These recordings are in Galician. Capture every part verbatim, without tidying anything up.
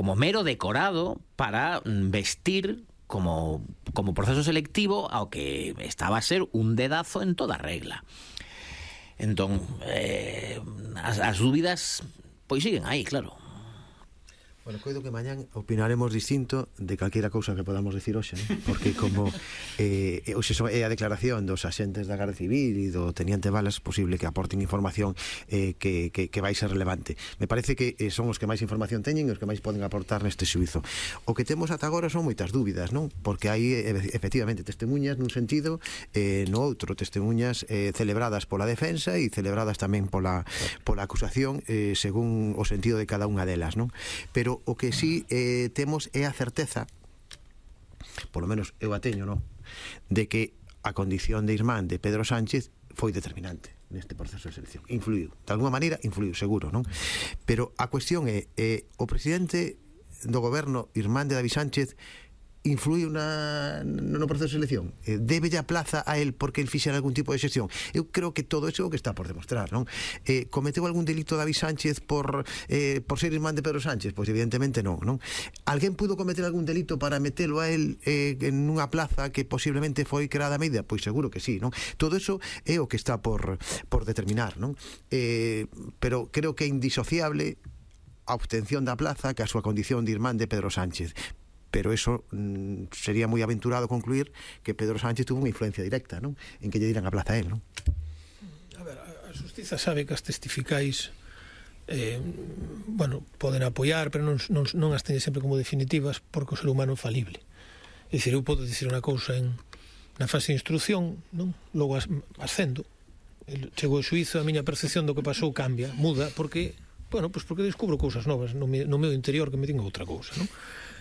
como mero decorado para vestir como, como proceso selectivo ao que estaba a ser un dedazo en toda regla. Entón, eh, as, as dúbidas pois siguen aí, claro. Bueno, coido que mañán opinaremos distinto de calquera cousa que podamos decir hoxe, ¿no? Porque como eh, hoxe é a declaración dos axentes da Garda Civil e do Teniente Balas, posible que aporten información eh, que, que, que vai ser relevante. Me parece que eh, son os que máis información teñen e os que máis poden aportar neste xuízo. O que temos ata agora son moitas dúbidas, non? Porque hai eh, efectivamente testemunhas nun sentido, eh, no outro testemunhas eh, celebradas pola defensa e celebradas tamén pola, pola acusación eh, según o sentido de cada unha delas, non? Pero o que sí eh, temos é a certeza, por lo menos eu a teño, non? De que a condición de irmán de Pedro Sánchez foi determinante neste proceso de selección. Influiu, de alguma maneira influiu, seguro, non? Pero a cuestión é, eh, o presidente do goberno, irmán de David Sánchez, influiu na, no proceso de selección? Eh, débelle a plaza a él porque el fixera algún tipo de xestión? Eu creo que todo eso é o que está por demostrar, non? Eh, cometeu algún delito David Sánchez por, eh, por ser irmán de Pedro Sánchez? Pois evidentemente non, non? Alguén pudo cometer algún delito para metelo a él eh, en unha plaza que posiblemente foi creada a medida? Pois seguro que sí, non? Todo eso é o que está por, por determinar, non? Eh, pero creo que é indisociable a obtención da plaza que a súa condición de irmán de Pedro Sánchez. Pero eso mm, sería moi aventurado concluir que Pedro Sánchez tuvo unha influencia directa, non? En que lle diran a plaza a él, non? A ver, a Xustiza sabe que as testificais eh, bueno, poden apoiar, pero non, non, non as teñe sempre como definitivas porque o ser humano é falible. É dicir, eu podo dicir unha cousa en, na fase de instrucción, non? Logo as, ascendo, chego ao xuízo, a miña percepción do que pasou cambia, muda, porque, bueno, pues porque descubro cousas novas no, me, no meu interior que me digan outra cousa, non?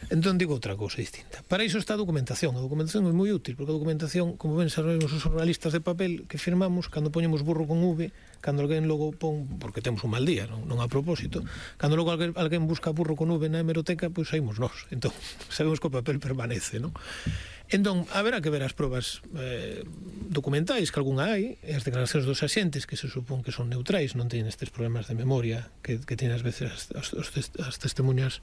Entón digo outra cousa distinta. Para iso está a documentación. A documentación é moi útil, porque a documentación, como ben sabemos os xornalistas de papel que firmamos, cando poñemos burro con V, cando alguén logo pon, porque temos un mal día, non, non a propósito, cando logo alguén, alguén busca burro con V na hemeroteca, pois saímos nós. Entón, sabemos que o papel permanece, non? Entón, haberá que ver as probas eh, documentais, que algunha hai, e as declaracións dos axentes, que se supón que son neutrais, non teñen estes problemas de memoria que, que teñen ás veces as, as, as testemunhas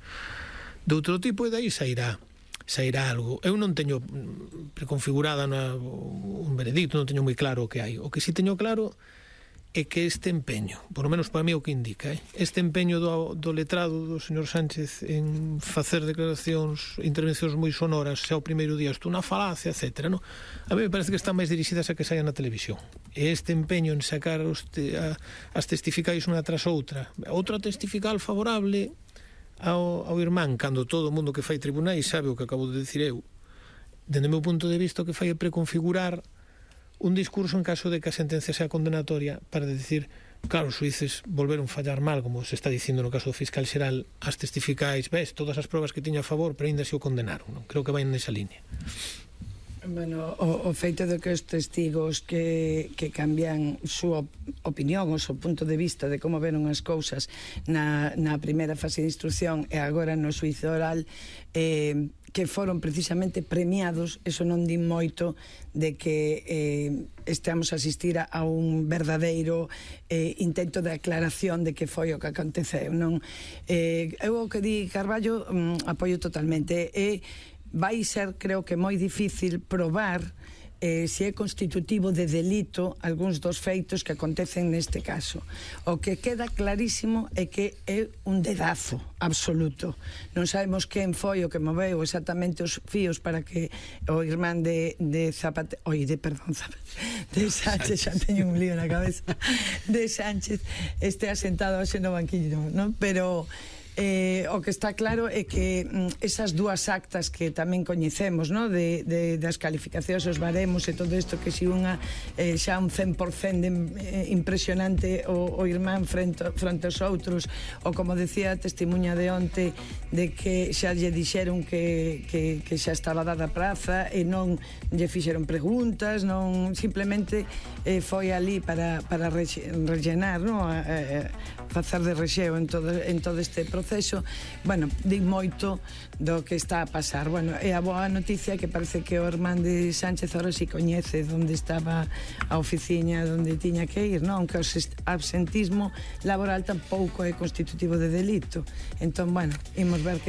de outro tipo, e dai sairá sairá algo. Eu non teño preconfigurada na, un veredicto, non teño moi claro o que hai. O que si teño claro é que este empeño, por lo menos para mí o que indica, eh? este empeño do, do letrado do señor Sánchez en facer declaracións, intervencións moi sonoras, xa o primeiro día estou na falacia, etcétera, no? A mí me parece que están máis dirixidas a que saian na televisión. E este empeño en sacar os te, a, as testificais unha tras outra, outra testifical favorable Ao, ao irmán, cando todo o mundo que fai tribunais sabe o que acabo de decir eu, dende o meu punto de vista o que fai é preconfigurar un discurso en caso de que a sentencia sea condenatoria para decir, claro, os xuíces volveron fallar mal, como se está dicindo no caso do fiscal xeral, as testificais, ves, todas as probas que tiña a favor, pero ainda se o condenaron, non? Creo que vai nesa línea. Bueno, o, o feito de que os testigos que, que cambian súa opinión, o seu punto de vista de como veron as cousas na, na primeira fase de instrucción e agora no xuízo oral, eh, que foron precisamente premiados, eso non di moito de que eh, estamos a asistir a, a un verdadeiro eh, intento de aclaración de que foi o que aconteceu, non? Eh, eu o que di Carballo um, apoio totalmente, e vai ser, creo que moi difícil probar eh, se é constitutivo de delito algúns dos feitos que acontecen neste caso. O que queda clarísimo é que é un dedazo absoluto. Non sabemos quen foi o que moveu exactamente os fíos para que o irmán de, de Zapate... Oi, de, perdón, Zapate, de Sánchez, xa teño un lío na cabeza, de Sánchez este asentado hoxe no banquillo, non? Pero Eh, o que está claro é que mm, esas dúas actas que tamén coñecemos, no? de, de, das calificacións, os baremos e todo isto, que si unha eh, xa un cen por cento de, eh, impresionante o, o irmán frente, frente aos outros, ou como decía a testemunha de onte, de que xa lle dixeron que, que, que xa estaba dada a praza e non lle fixeron preguntas, non, simplemente eh, foi ali para, para rellenar, no? a, a, facer de rexeo en todo, en todo este proceso. Bueno, di moito do que está a pasar. Bueno, e a boa noticia que parece que o irmán de Sánchez ahora si coñece onde estaba a oficiña, onde tiña que ir, non? Aunque o absentismo laboral tampouco é constitutivo de delito. Entón, bueno, imos ver que